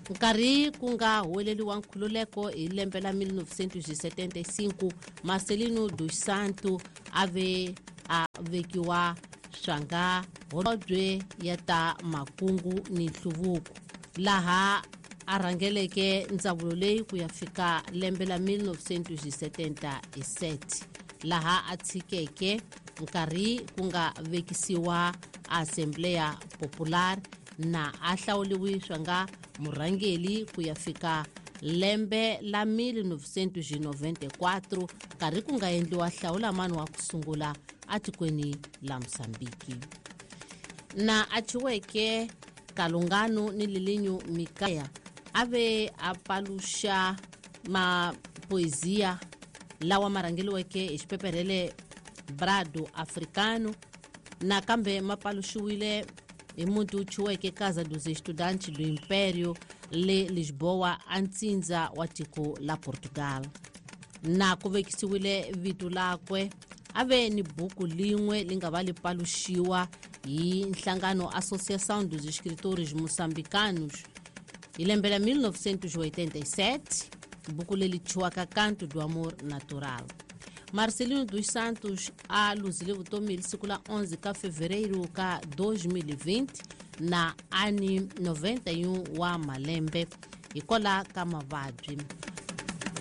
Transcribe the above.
Nkarhi ku nga huweleliwa nkhululeko hi lembe la 1975, Marcelino dos Santos a ve a vekiwa swanga holobye ya ta makungu ni nhluvuko, laha a rhangeleke ndzawulo leyi ku ya fika lembe la 1977, laha a tshikeke nkarhi ku nga vekisiwa Assembleia Popular na a hlawuliwi swanga murhangeli ku ya fika lembe la 1994, nkarhi ku nga endliwa hlawulamani wa ku sungula atikweni la Mosambiki. Na a chiweke Kalungano ni Lilinyu Mikaya a ve a paluxa mapoesia lawa ma rhangeliweke hi xipeperhele Brado Africano, nakambe ma paluxiwile hi muti wu chiweke Casa dos Estudantes do Império le Lisboa, a ntsindza wa tiko la Portugal. Na ku vekisiwile vito lakwe, a ve ni buku lin'we li nga va li paluxiwa hi nhlangano Associação dos Escritores Moçambicanos hi lembe la 1987, buku leri chiwaka Canto do Amor Natural. Marcelino dos Santos a luzile vutomi hi siku la 11 ka fevereiro ka 2020 na ani 91 wa malembe hikola ka mavabyi.